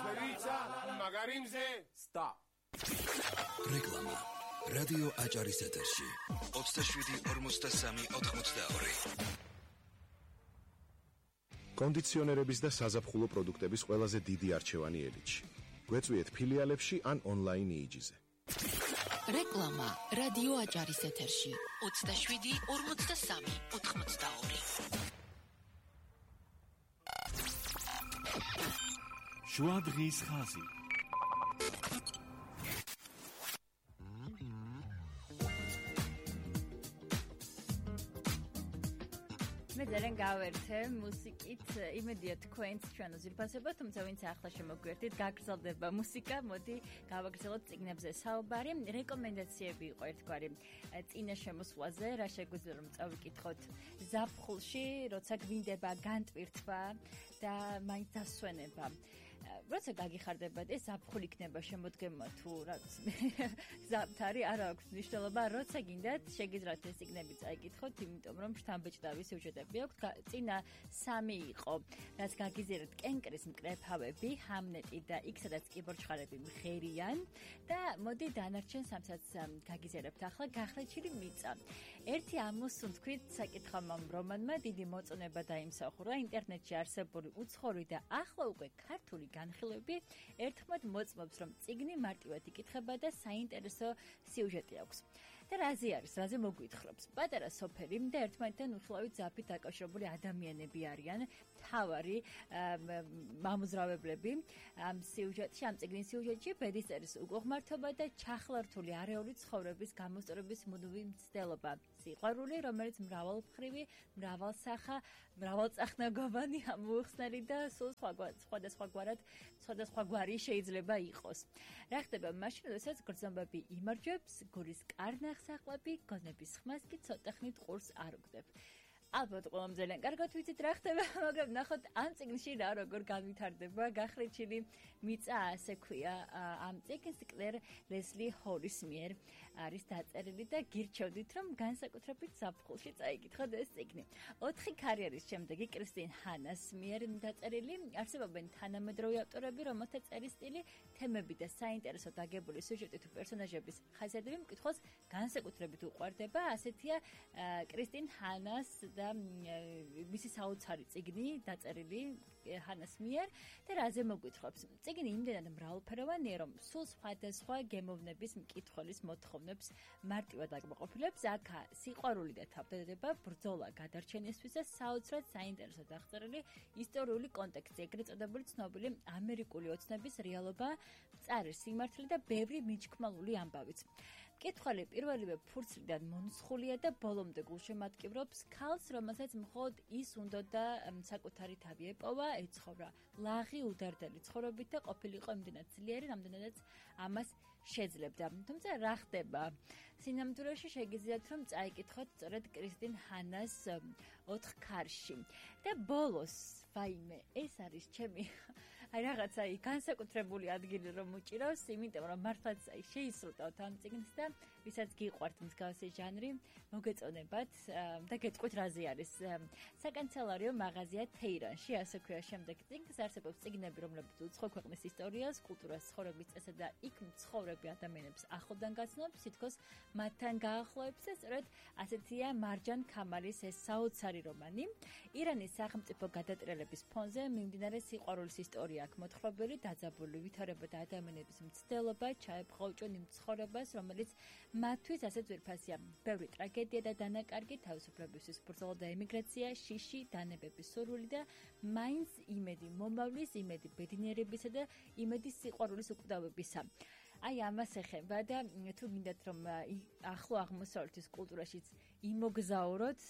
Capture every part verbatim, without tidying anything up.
ხვერიცა მაგარი მზე Stop. რეკლამა რადიო აჭარის ეთერში ოცდაშვიდი ორმოცდასამი ოთხმოცდაორი კონდიციონერების და საზაფხულო პროდუქტების ყველაზე დიდი არჩევანი ელჩი. გვეწვიეთ ფილიალებში ან ონლაინ იიჯიზე. რეკლამა რადიო აჭარის ეთერში ოცდაშვიდი ორმოცდასამი ოთხმოცდაორი შუა დღის ხაზი მე ძალიან გავერთე მუსიკით, იმედია თქვენც ჩვენ უზირფასებთ, თუმცა ვინც ახლა შემოგვერთით, გაგრძელდება მუსიკა, მოდი გავაგრძელოთ წიგნებზე საუბარი. რეკომენდაციები იყო ერთგვარი წინა შემოსვლაზე, რა შეგვიძლია რომ წავიკითხოთ ზაფხულში, როცა გვინდება განტვირთვა და მაინც დასვენება. როცა გაგიხარდებათ, ეს ზაფხული იქნება შემოდგემა თუ რაც ზამთარი არ აქვს მნიშვნელობა, როცა გინდათ, შეგიძლიათ ეს წიგნები წაიკითხოთ, იმიტომ რომ შთამბეჭდავი სიუჟეტები აქვს. წინა სამი იყო, რაც გაგიზიარეთ კენკრის მკრეფავები, ჰამნეტი და იქ სადაც კიბორჩხარები მღერიან და მოდი დანარჩენ სამსაც გაგიზიარებთ ახლა გახლეჩილი მიწა. ერთი ამოსუნთქვით საკითხავმა რომანმა დიდი მოწონება დაიმსახურა ინტერნეტში არსებული უცხოური და ახლა უკვე ქართული განხილვები ერთხმად მოწმობს, რომ წიგნი მარტივად იკითხება და საინტერესო სიუჟეტი აქვს. და რაზე არის, რაზე მოგვითხრობს? პატარა სოფელი და ერთმანეთთან უხილავით ზაფით დაკავშირებული ადამიანები არიან, თავარი მამოძრავებლები ამ სიუჟეტში, ამ წიგნის სიუჟეტში ბედისწერის უკუღმართობა და ჩახლართული არეული ცხოვრების გამოსწორების მუდმივი მცდელობა. სიყვარული, რომელიც მრავალმხრივი, მრავალსახა, მრავალწახნაგოვანი, ამოუხსნელი და სულ სხვადასხვაგვარად, სხვადასხვაგვარი შეიძლება იყოს. რა ხდება მაშინ, როდესაც გრძნობები იმარჯვებს, გულის კარნახს აყვები, გონების ხმას კი ცოტა ხნით ყურს არ უგდებ. ალბათ ყველამ ძალიან კარგად ვიცით რა ხდება, მაგრამ ნახოთ ამ წიგნში რა როგორ განვითარდება. გახლეჩილი მიწა ასე ქვია ამ წიგნს კლერ ლესლი ჰოლის მიერ არის დაწერილი და გირჩევდით რომ განსაკუთრებით ზაფხულში წაიკითხოთ ეს წიგნი. ოთხი კარიერის შემდეგი კრისტინ ჰანას მიერ დაწერილი, არსებობენ თანამედროვე ავტორები, რომელთა წერის სტილი, თემები და საინტერესო დაგებული სიუჟეტი თუ პერსონაჟების ხასიათები მკითხველს განსაკუთრებით უყვარდება. ასეთია კრისტინ ჰანას და მისი საოცარი წიგნი დაწერილი ჰანას მიერ და რაზე მოგვითხრობს. წიგნი იმდენად მრავალფეროვანია, რომ სულ სხვადასხვა გემოვნების მკითხველის მოთხოვნებს მარტივად აკმაყოფილებს. აქ სიყვარული და თავდადება, ბრძოლა გადარჩენისთვის და საოცრად საინტერესო დახვეწილი ისტორიული კონტექსტი, ეგრეთ წოდებული ცნობილი ამერიკული ოცნების რეალობა, მწარე სიმართლე და ბევრი მიჩქმალული ამბავიც. მკითხველი პირველივე ფურცლიდან მონსხულია და ბოლომდე გულშემატკივრობს ქალს, რომელსაც მხოლოდ ის უნდა და საკუთარი თავი ეპოვა, ეცხოვრა ლაღი უდარდელი ცხოვრობით და ყოფილიყო იმდენად ძლიერი, რამდენადაც ამას შეძლებდა. თუმცა რა ხდება? სინამდვილეში შეგიძლიათ რომ წაიკითხოთ სწორედ კრისტინ ჰანას ოთხ ქარში. და ბოლოს, ვაიმე, ეს არის ჩემი აი რაღაცა აი განსაკუთრებული ადგილი რომ უჭირავს, იმიტომ რომ მართლაც აი შეისრულტავთ ამ წიგნს და ვისაც გიყვართ მსგავსი ჟანრი, მოგეწონებათ და გეტყვით რაზე არის. საკანცელარიო მაღაზია თეირანში, ასე ქვია შემდეგ წიგნს, არსებობს წიგნები, რომლებიც უცხო ქვეყნის ისტორიას, კულტურას, ცხოვრების წესად და იქ მცხოვრები ადამიანებს ახლობდან გაცნობს, თითქოს მათთან გაახლოებს და სწორედ ასეთია მარჯან ქამალის ეს საოცარი რომანი. ირანის სახელმწიფო გადატრიალების ფონზე მიმდინარე სიყვარულის ისტორია აქვს მოთხრობილი, დაძაბული ვითარება და ადამიანების მცდელობა ჩაეპყრობჭონ იმ ცხოვრებას, რომელიც მათთვის ასე ძვირფასია. ბევრი ტრაგედია და დანაკარგი, თავისუფლებისთვის ბრძოლა და ემიგრაცია, შიში, დანებების სურვილი და მაინც იმედი მომავლის, იმედი ბედნიერებისა და იმედი სიყვარულის უკვდავებისა. აი ამას ეხება და თუ გინდათ რომ ახლო აღმოსავლეთის კულტურაშიც იმოგზაუროთ,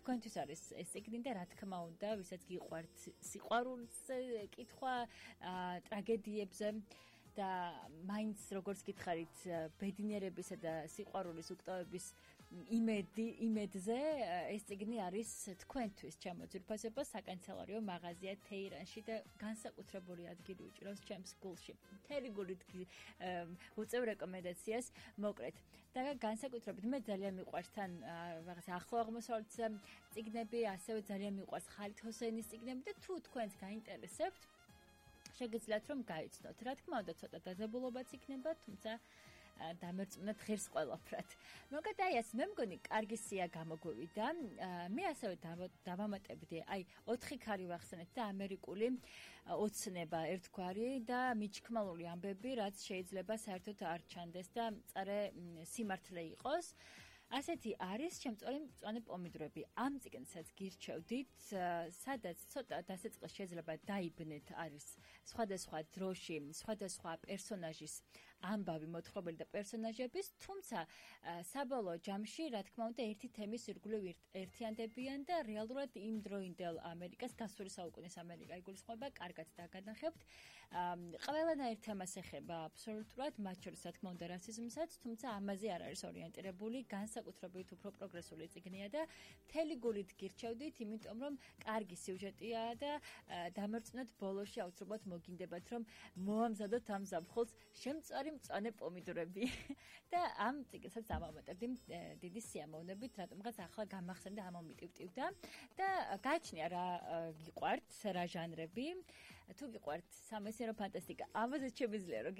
თქვენთვის არის ეს წიგნი და რა თქმა უნდა, ვისაც გიყვართ სიყვარულს კითხვა, ტრაგედიებზე და მაინც როგორც გითხარით ბედნიერებისა და სიყვარულის უკტავების იმედი იმედზე ეს წიგნი არის თქვენთვის ჩემოძირფასება საკანცელარიო მაღაზია თეირანში და განსაკუთრებული ადგილი უჭირავს ჩემს გულში. მთელი გულით უწევ რეკომენდაციას მოკრეთ და განსაკუთრებით მე ძალიან მიყვარს თან რაღაც ახლო აღმოსავლეთის წიგნები, ასევე ძალიან მიყვარს ხალით ჰოსეინის წიგნები და თუ თქვენს გაინტერესებთ შეგიძლიათ რომ გაიცნოთ. რა თქმა უნდა, ცოტა დაძაბულობაც იქნება, თუმცა დამერწმუნეთ ღირს ყველაფრად. მოგეთ აი ეს მე მგონი კარგი სია გამოგვივიდა. მე ასევე დავამატებდი, აი ოთხი ქარი ვახსენეთ და ამერიკული ოცნება ერთგვარი და მიჩქმალული ამბები, რაც შეიძლება საერთოდ არ ჩანდეს და მწარე სიმართლე იყოს. ასეთი არის შემწვარი მწვანე პომიდორები. ამ წიგნსაც გირჩევდით, სადაც ცოტა დასაწყისში შეიძლება დაიბნეთ არის სხვადასხვა დროში, სხვადასხვა პერსონაჟის ამბავი მოთხრობილი და პერსონაჟების, თუმცა საბოლოო ჯამში, რა თქმა უნდა, ერთი თემის ირგვლივ ერთიანდებიან და რეალურად იმ დროინდელ ამერიკას, გასული საუკუნის ამერიკა იგულისხმება, კარგად დაგანახებთ. ყველანაირ თემას ეხება აბსოლუტურად, მათ შორის, რა თქმა უნდა, რასიზმსაც, თუმცა ამაზე არ არის ორიენტირებული, განსაკუთრებით უფრო პროგრესული წიგნია და მთელი გულით გირჩევდით, იმიტომ რომ კარგი სიუჟეტია და დამერწმუნეთ ბოლოში აუცილებლად მოგინდებათ, რომ მოამზადოთ ამ ზაფხულს შემწვარი მწვანე პომიდორები და ამ წიგნსაც ამამატებდი დიდი სიამოვნებით, რატომღაც ახლა გამახსენდა ამომიტივტივდა და გაჩნია რა გიყვართ, რა ჟანრები. თუ გიყვართ სამეცნიერო ფანტასტიკა, ამაზეც შემიძლია რომ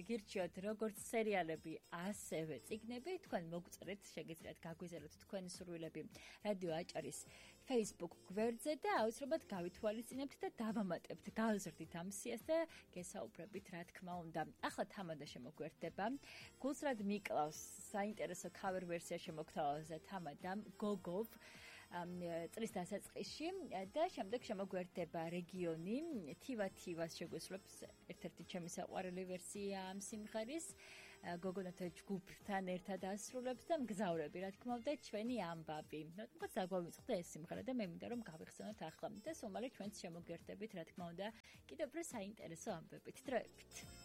გირჩიოთ როგორც სერიალები, ასევე წიგნები, თქვენ მოგწერეთ, შეგიძლიათ გაგვიზარდოთ თქვენი სურვილები რადიო აჭარის Facebook გვერდზე და აუცილებლად გავითვალისწინებთ და დავამატებთ, გავზრდით ამ სიას და გესაუბრებით, რა თქმა უნდა. ახლა თამადა შემოგვერდება. გულსრად მიკლავს საინტერესო cover ვერსია შემოგთავაზა თამადამ გოგოვ წლის დასაწყისში და შემდეგ შემოგვერდება რეგიონი თივა თივას შეგვესრულებს ერთ-ერთი ჩემი საყვარელი ვერსია ამ სიმღერის გოგონათა ჯგუფთან ერთად ასრულებს და მგზავრები, რა თქმა უნდა, ჩვენი ამბავი. რატომღაც დაგვამიწყდა ეს სიმღერა და მე მინდა რომ გავიხსენოთ ახლა და სულ მალე ჩვენც შემოგვერდებით, რა თქმა უნდა, კიდევ უფრო საინტერესო ამბებით. დროებით.